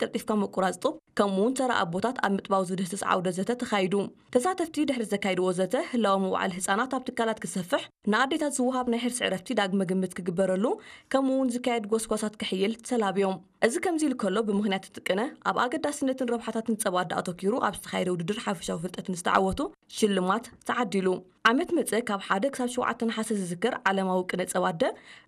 ቀልጢፍካ ምቁራጽ ጡብ፣ ከምኡ እውን ተራ ኣቦታት ኣብ ምጥባው ዝድህስስ ዓውደ ዘተ ተኻይዱ። ተሳተፍቲ ድሕሪ ዘካይድዎ ዘተ፣ ህላወ ምውዓል ህጻናት ኣብ ትካላት ክሰፍሕ፣ ንኣዴታት ዝወሃብ ናይ ሕርሲ ዕረፍቲ ዳግመ ግምት ክግበረሉ፣ ከምኡ እውን ዝካየድ ጎስጓሳት ክሕይል ተላብዮም። እዚ ከምዚ ኢሉ ከሎ፣ ብምኽንያት እቲ ቅነ፣ ኣብ ኣገዳስነትን ረብሓታትን ጸባ ኣደ ኣተኲሩ ኣብ ዝተኻየደ ውድድር ሓፈሻዊ ፍልጠት ንዝተዓወቱ ሽልማት ተዓዲሉ። ዓመት መጸ ካብ ሓደ ክሳብ ሸውዓተ ነሓሰ ዝዝከር ዓለማዊ ቅነ ጸባ ኣደ፣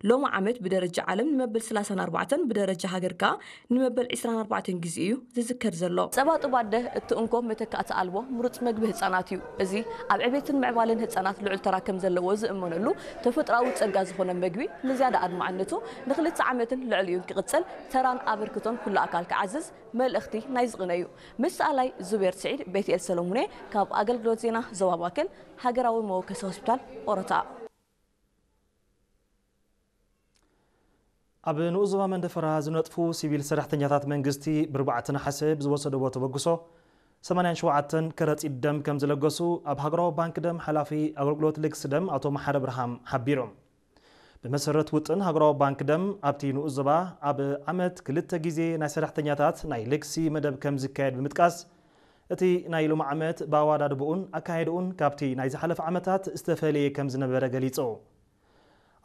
ሎሚ ዓመት ብደረጃ ዓለም ንመበል ሰላሳን ኣርባዕተን፣ ብደረጃ ሃገር ከኣ ንመበል ዕስራን ኣርባዕተን ግዜ እዩ ዝዝከር ዘሎ። ጸባ ጡብ ኣደ እቲ እንኮ መተካእቲ ኣልቦ ምሩጽ መግቢ ህጻናት እዩ። እዚ ኣብ ዕቤትን ምዕባለን ህጻናት ልዑል ተራ ከም ዘለዎ ዝእመነሉ ተፈጥሮኣዊ ጸጋ ዝኾነ መግቢ ንዝያዳ ኣድማዕነቱ ንኽልተ ዓመትን ልዕሊኡን ክቕጽል ተራን ኣበርክቶን ኩሉ ኣካል ክዓዝዝ መልእኽቲ ናይ ዝቕነ እዩ። ምስ ሰኣላይ ዙቤር ስዒድ፣ ቤትኤል ሰለሙኔ ካብ ኣገልግሎት ዜና ዞባ ማእከል፣ ሃገራዊ መወከሲ ሆስፒታል ኦሮታ። ኣብ ንኡስ ዞባ መንደፈራ ዝነጥፉ ሲቪል ሰራሕተኛታት መንግስቲ ብርባዕተ ነሓሰ ብዝወሰድዎ ተበግሶ ሰማንያን ሸውዓተን ከረጺት ደም ከም ዝለገሱ ኣብ ሃገራዊ ባንክ ደም ሓላፊ ኣገልግሎት ልግሲ ደም ኣቶ መሓሪ ብርሃም ሓቢሮም። ብመሰረት ውጥን ሃገራዊ ባንክ ደም ኣብቲ ንኡስ ዞባ ኣብ ዓመት ክልተ ግዜ ናይ ሰራሕተኛታት ናይ ልግሲ መደብ ከም ዝካየድ ብምጥቃስ፣ እቲ ናይ ሎሚ ዓመት ብኣወዳድብኡን ኣካየድኡን ካብቲ ናይ ዝሓለፈ ዓመታት ዝተፈለየ ከም ዝነበረ ገሊጹ።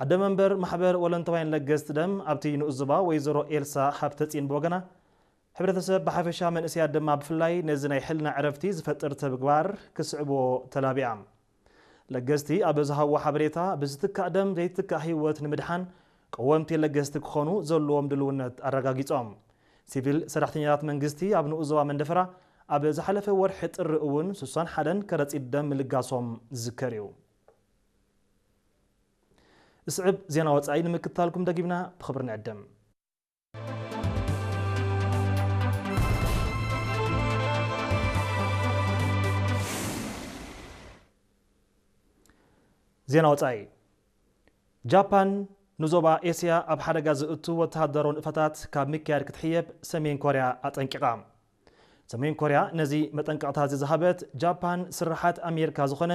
ኣደ መንበር ማሕበር ወለንተዋይን ለገስቲ ደም ኣብቲ ንኡስ ዞባ ወይዘሮ ኤልሳ ሃብተጺን ብወገና፣ ሕብረተሰብ ብሓፈሻ መንእሰያት ድማ ብፍላይ ነዚ ናይ ሕልና ዕረፍቲ ዝፈጥር ተግባር ክስዕብዎ ተላቢያ። ለገስቲ ኣብ ዝሃብዎ ሓበሬታ፣ ብዝትካእ ደም ዘይትካእ ህይወት ንምድሓን ቀወምቲ ለገስቲ ክኾኑ ዘለዎም ድልውነት ኣረጋጊጾም። ሲቪል ሰራሕተኛታት መንግስቲ ኣብ ንኡስ ዞባ መንደፈራ ኣብ ዝሓለፈ ወርሒ ጥሪ እውን ስሳን ሓደን ከረጺት ደም ምልጋሶም ዝዝከር እዩ። ዝስዕብ ዜና ወጻኢ ንምክትታልኩም ደጊምና ብኽብሪ ንዕድም። ዜና ወጻኢ። ጃፓን ንዞባ ኤስያ ኣብ ሓደጋ ዝእቱ ወተሃደራዊ ንጥፈታት ካብ ምክያድ ክትሕየብ ሰሜን ኮርያ ኣጠንቂቓ። ሰሜን ኮርያ ነዚ መጠንቀቕታ እዚ ዝሃበት፣ ጃፓን ስርሓት ኣሜሪካ ዝኾነ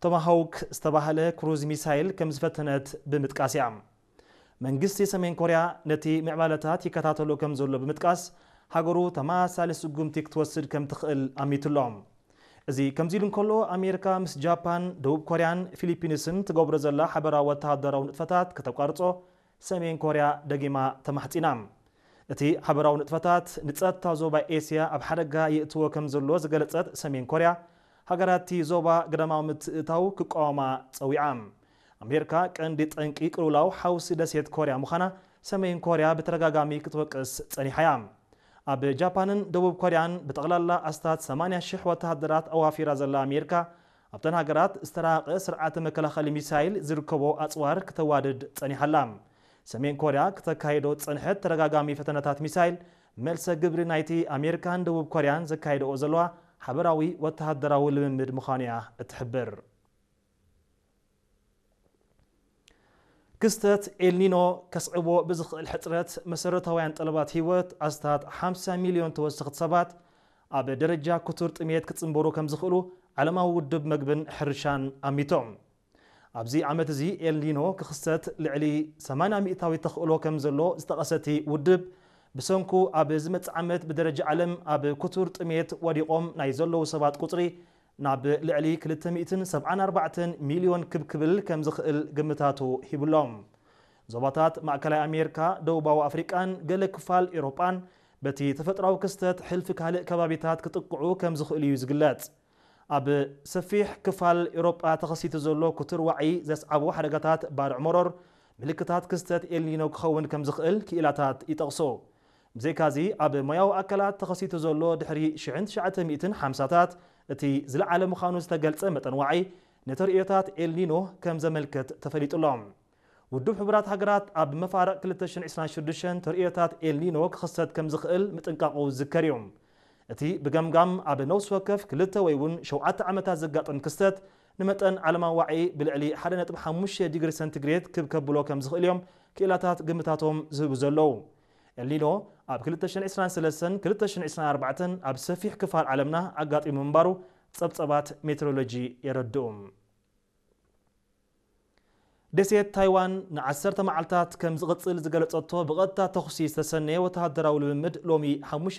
ቶማሃውክ ዝተባህለ ክሩዝ ሚሳይል ከም ዝፈተነት ብምጥቃስ እያ። መንግስቲ ሰሜን ኮርያ ነቲ ምዕባለታት ይከታተሎ ከም ዘሎ ብምጥቃስ፣ ሃገሩ ተመሳሳሊ ስጉምቲ ክትወስድ ከም ትኽእል ኣሚቱ ኣሎ። እዚ ከምዚ ኢሉ እንከሎ፣ ኣሜሪካ ምስ ጃፓን፣ ደቡብ ኮርያን ፊሊፒንስን ትገብሮ ዘላ ሓበራዊ ወተሃደራዊ ንጥፈታት ከተቋርጾ ሰሜን ኮርያ ደጊማ ተማሕጺና። እቲ ሓበራዊ ንጥፈታት ንጸጥታ ዞባ ኤስያ ኣብ ሓደጋ የእትዎ ከም ዘሎ ዝገለጸት ሰሜን ኮርያ፣ ሃገራት እቲ ዞባ ግዳማዊ ምትእትታው ክቃወማ ጸዊዓ። ኣሜሪካ ቀንዲ ጠንቂ ቅልውላው ሓውሲ ደሴት ኮርያ ምዃና ሰሜን ኮርያ ብተደጋጋሚ ክትወቅስ ጸኒሓ እያ። ኣብ ጃፓንን ደቡብ ኮርያን ብጠቕላላ ኣስታት ሰማንያ ሽሕ ወተሃደራት ኣዋፊራ ዘላ ኣሜሪካ፣ ኣብተን ሃገራት ዝተራቐቐ ስርዓተ መከላኸሊ ሚሳይል ዝርከቦ ኣጽዋር ክተዋድድ ጸኒሓ ኣላ። ሰሜን ኮርያ ክተካይዶ ዝጸንሐት ተደጋጋሚ ፈተነታት ሚሳይል፣ መልሰ ግብሪ ናይቲ ኣሜሪካን ደቡብ ኮርያን ዘካይደኦ ዘለዋ ሓበራዊ ወተሃደራዊ ልምምድ ምዃኑ እያ እትሕብር። ክስተት ኤልኒኖ ከስዕቦ ብዝኽእል ሕጽረት መሰረታውያን ጠለባት ህይወት ኣስታት ሓምሳ ሚልዮን ተወሰኽቲ ሰባት ኣብ ደረጃ ክቱር ጥሜት ክጽንበሩ ከም ዝኽእሉ ዓለማዊ ውድብ መግብን ሕርሻን ኣሚቶም። ኣብዚ ዓመት እዚ ኤልኒኖ ክኽሰት ልዕሊ ሰማንያ ሚእታዊት ተኽእሎ ከም ዘሎ ዝጠቐሰ እቲ ውድብ፣ ብሰንኩ ኣብ ዝመጽእ ዓመት ብደረጃ ዓለም ኣብ ክቱር ጥሜት ወዲቖም ናይ ዘለዉ ሰባት ቁጽሪ ናብ ልዕሊ ክልተ ሚእትን ሰብዓን ኣርባዕተን ሚልዮን ክብ ክብል ከም ዝኽእል ግምታቱ ሂቡሎም። ዞባታት ማእከላይ ኣሜሪካ፣ ደቡባዊ ኣፍሪቃን ገለ ክፋል ኤውሮጳን በቲ ተፈጥሮኣዊ ክስተት ሕልፊ ካልእ ከባቢታት ክጥቅዑ ከም ዝኽእሉ እዩ ዝግለጽ። ኣብ ሰፊሕ ክፋል ኤውሮጳ ተኸሲቱ ዘሎ ክቱር ዋዒ ዘስዓቦ ሓደጋታት ባርዕ መሮር ምልክታት ክስተት ኤልኒኖ ክኸውን ከም ዝኽእል ክኢላታት ይጠቕሱ። ብዘይካዚ፣ ኣብ ሞያዊ ኣካላት ተኸሲቱ ዘሎ ድሕሪ ሽሕን ትሽዓተ ሚእትን ሓምሳታት እቲ ዝለዓለ ምዃኑ ዝተገልጸ መጠን ዋዒ፣ ንተርእዮታት ኤልኒኖ ከም ዘመልክት ተፈሊጡ ኣሎ። ውድብ ሕቡራት ሃገራት ኣብ መፋርቕ ክልተ ሽሕን ዕስራን ሽዱሽተን ተርእዮታት ኤልኒኖ ክኽሰት ከም ዝኽእል ምጥንቃቑ ዝዝከር እዩ። እቲ ብገምጋም ኣብ ነፍሲ ወከፍ ክልተ ወይ እውን ሸውዓተ ዓመታት ዘጋጥም ክስተት ንመጠን ዓለማዊ ዋዒ ብልዕሊ ሓደ ነጥቢ ሓሙሽተ ዲግሪ ሰንቲግሬድ ክብ ከብሎ ከም ዝኽእል እዮም ክኢላታት ግምታቶም ዝህቡ ዘለዉ። ኤልኒኖ ኣብ ክልተ ሽሕን ዕስራን ሰለስተን ክልተ ሽሕን ዕስራን ኣርባዕተን ኣብ ሰፊሕ ክፋል ዓለምና ኣጋጢሙ ምንባሩ ጸብጸባት ሜትሮሎጂ የረድኡ። ደሴት ታይዋን ንዓሰርተ መዓልታት ከም ዝቕጽል ዝገለጸቶ ብቐጥታ ተኹሲ ዝተሰነየ ወተሃደራዊ ልምምድ ሎሚ ሓሙሽተ